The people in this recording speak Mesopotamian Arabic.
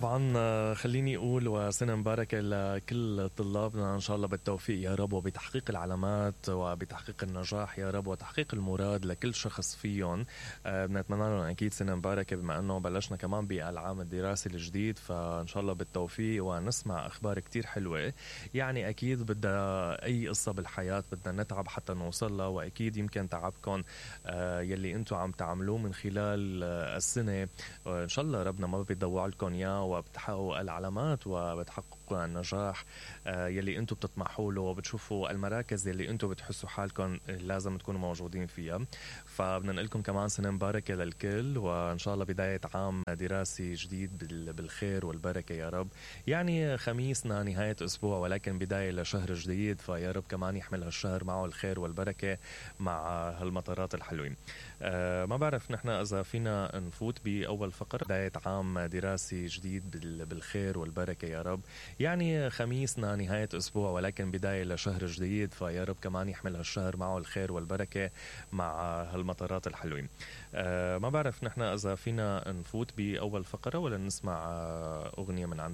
طبعا خليني أقول وسنة مباركة لكل طلابنا إن شاء الله بالتوفيق يا رب، وبتحقيق العلامات وبتحقيق النجاح يا رب، وتحقيق المراد لكل شخص فيهم. بنتمنى لهم أكيد سنة مباركة بما أنه بلشنا كمان بالعام الدراسي الجديد، فإن شاء الله بالتوفيق ونسمع أخبار كتير حلوة. يعني أكيد بدها أي قصة بالحياة بدنا نتعب حتى نوصلها، وأكيد يمكن تعبكم يلي أنتوا عم تعملوه من خلال السنة إن شاء الله ربنا ما بيضوع لكم إياه، وبتحققوا العلامات وبتحققوا النجاح يلي أنتوا بتطمحوا له، وبتشوفوا المراكز يلي أنتوا بتحسوا حالكم لازم تكونوا موجودين فيها. فبدنا لكم كمان سنة مباركة للكل، وإن شاء الله بداية عام دراسي جديد بالخير والبركة يا رب. يعني خميسنا نهاية أسبوع ولكن بداية لشهر جديد، فيا رب كمان يحمل هالشهر معه الخير والبركة مع هالمطارات الحلوين. ما بعرف نحن إذا فينا نفوت بأول فقرة بداية عام دراسي جديد بالخير والبركة يا رب. يعني خميسنا نهاية أسبوع ولكن بداية لشهر جديد، فيا رب كمان يحمل هالشهر معه الخير والبركة مع هالمطارات الحلوين. ما بعرف نحن إذا فينا نفوت بأول فقرة ولا نسمع أغنية من عند